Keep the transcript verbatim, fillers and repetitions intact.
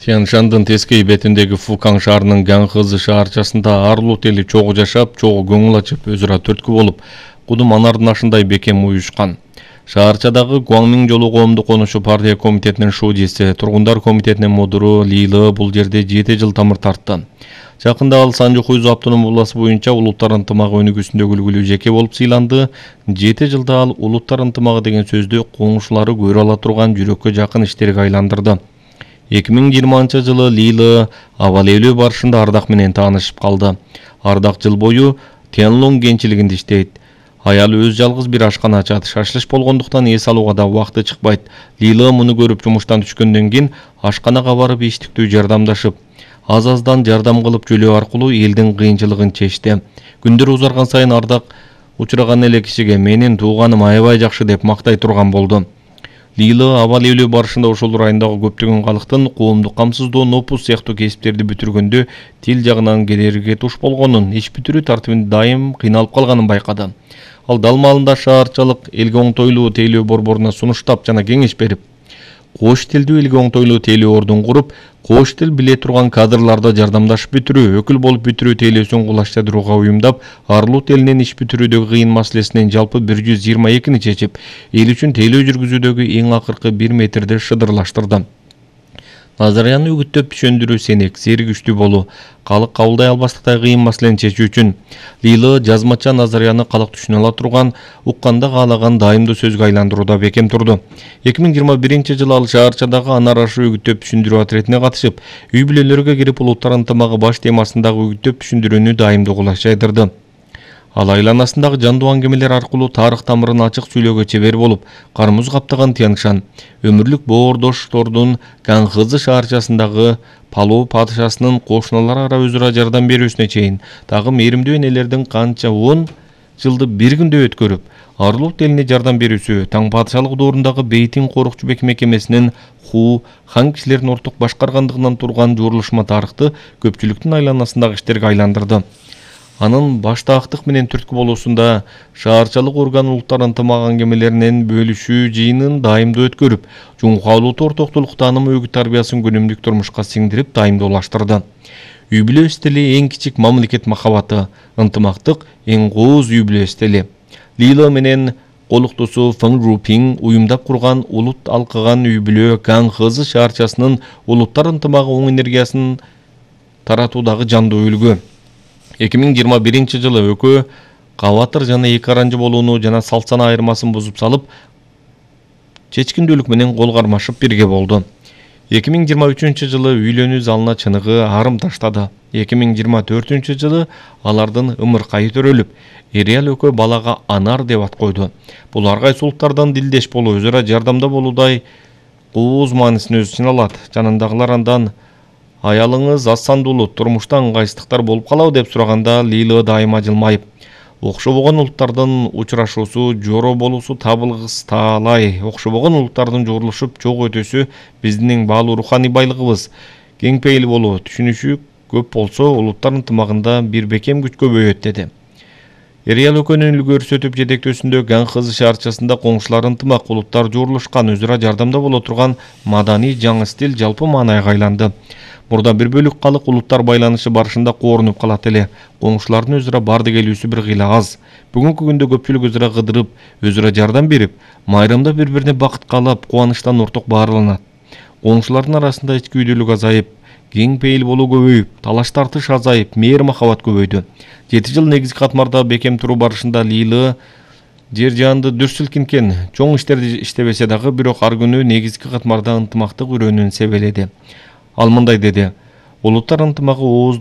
Тянь-Шандын тескей бетиндеги Фукан шаарынын Гаңхызы шаарчасында ар улут эли чогуу жашап, чогуу көңүл ачып, өзүрө түрткү болуп, кудум анардын ашындай бекем уюшкан. Шаарчадагы Гуаңмиң жолу коомдук конушу партия комитетинин шуудиси, тургундар комитетинин мудуру Лилы бул жерде жети жыл тамыр тартты. Жакында ал Санжу Хуйзу автоном областы боюнча улуттар ынтымагы өнүгүүсүндөгү үлгүлүү жеке болуп сыйланды. жети жылда ал улуттар ынтымагы деген сөздү коңшулары көрө ала турган жүрөккө жакын иштерге айландырды. эки миң жыйырманчы жылы Лилы аба ээлөө барышында Ардак менен таанышып калды. Ардак жыл бою Тянлонг кентчилигинде иштейт. Аялы өз жалгыз бир ашкана ачат. Шашлыш болгондуктан эс алууга да убакыты чыкпайт. Лилы муну көрүп жумуштан түшкөндөн кийин ашканага барып иштиктүү жардамдашып, аз-аздан жардам кылып жөлөө аркылуу элдин кыйынчылыгын чечти. Күндөр узарган сайын Ардак учураган эле кишиге менин тууганым аябай жакшы деп мактай турган болду. Лилы аба ээлөө барышында ошол райондогу көптөгөн калктын коомдук камсыздоо, нопус сыяктуу кесиптерди бүтүргөндө тил жагынан кедерги туш болгонун, иш бүтүрүү тартибинде дайым кыйналып калганын байкады. Ал дал маалында шаарчалык элге оңтойлуу тейлөө борборуна сунуштап жана кеңеш берип, кош тилдүү элге оңтойлуу тейлөө ордун куруп, кош тил биле турган кадрларды жардамдашып бүтүрүү, өкүл болуп бүтүрүү тейлөөсүн кулаштырууга уюмдап, ар улут элинин иш бүтүрүүдөгү кыйын маселесинин жалпы бир жүз жыйырма экини чечип, эл үчүн тейлөө жүргүзүүдөгү эң акыркы бир метрди шыдырлаштырды. Назарияны үгүттөп түшөндүрүү сенек, сери күчтүү болуу, калык кабылдай албастыктай кыйын маселени чечүү үчүн Лилы жазмача Назарияны калык түшүнө ала турган, укканда каалаган дайымдуу сөзгө айландырууда бекем турду. эки миң жыйырма биринчи жылы ал шаарчадагы Анар ашы үгүттөп түшүндүрүү отрядине катышып, үй бүлөлөргө кирип улуттар ынтымагы баш темасындагы үгүттөп түшүндүрүүнү дайымдуу кулаш жайдырды. Ал айланасындагы жандуу аңгемелер аркылуу тарых тамырын ачык сүйлөөгө чебер болуп, кармуз каптаган Тянь-Шань, өмүрлүк боордоштордун Гаңхызы шаарчасындагы Палоо падышасынын кошуналар ара өзүрө жардам берүүсүнө чейин, дагы мээримдүү энелердин канча он жылды бир күндө өткөрүп, ар улут элине жардам берүүсү, таң падышалык доорундагы Бейтин корукчу мекемесинин Ху хан кишилердин орток башкаргандыгынан турган жуурулушма тарыхты көпчүлүктүн айланасындагы иштерге айландырды. Анын башта актык менен түрткү болуусунда шаарчалык орган улуттар ынтымагы аңгемелеринин бөлүшүү жыйынын дайымдуу өткөрүп, жумка улуттуу ортоктулук таанымы өгүт тарбиясын күнүмдүк турмушка сиңдирип дайымдуулаштырды. Үй бүлө стили эң кичик мамлекет махабаты, ынтымактык эң кооз үй бүлө стили. Лилы менен колуктусу Фэн Рупин уюмдап курган улут алкыган үй бүлө Гаңхызы шаарчасынын улуттар ынтымагы оң энергиясын таратуудагы жандуу үлгү. эки миң жыйырма биринчи жылы экөө кабатыр жана эки аранжы болууну жана салт сана айырмасын бузуп салып, чечкиндүүлүк менен кол кармашып бирге болду. эки миң жыйырма үчүнчү жылы үйлөнүү залына чыныгы арым таштады. эки миң жыйырма төртүнчү жылы алардын ымыркайы төрөлүп, Эриал экөө балага Анар деп ат койду. Бул ар кайсы улуттардан дилдеш болуу, өзара жардамда болуудай кооз маанисин өз ичине алат. Жанындагылар андан аялыңыз аз сандуулуу, турмушта ыңгайсыздыктар болуп калабы деп сураганда Лилы дайыма жылмайып, окшобогон улуттардын учурашуусу, жоро болуусу табылгыс таалай, окшобогон улуттардын жуурулушуп чогуу өтүүсү биздин эң баалуу руханий байлыгыбыз. Кең пейил болуу, түшүнүшүү көп болсо, улуттар ынтымагында бир бекем күч көбөйөт деди. Эриал экөөнүн үлгү көрсөтүп жетектөөсүндө Гаңхызы шаарчасында коңшулар ынтымак, улуттар жуурулушкан, өзүрө жардамда боло турган маданий жаңы стиль жалпы маанайга айланды. Мурда бир бөлүк калык улуттар байланышы барышында коорунуп калат эле. Коңшулардын өзүрө барды келүүсү бир кыйла аз. Бүгүнкү күндө көпчүлүк өзүрө кыдырып, өзүрө жардам берип, майрамда бири-бирине бакыт каалап, кубанычтан орток баарыланат. Коңшулардын арасында ички үйдүүлүк азайып, кең пейил болуу көбөйүп, талаш тартыш азайып, мээр махабат көбөйдү. жети жыл негизги катмарда бекем туруу барышында Лилы жер жаанды дүр силкинткен, чоң иштерди иштебесе дагы, бирок ар күнү негизги катмарда ынтымактык үрөөнүн себеледи. Ал мындай деди: улуттар ынтымагы ооздой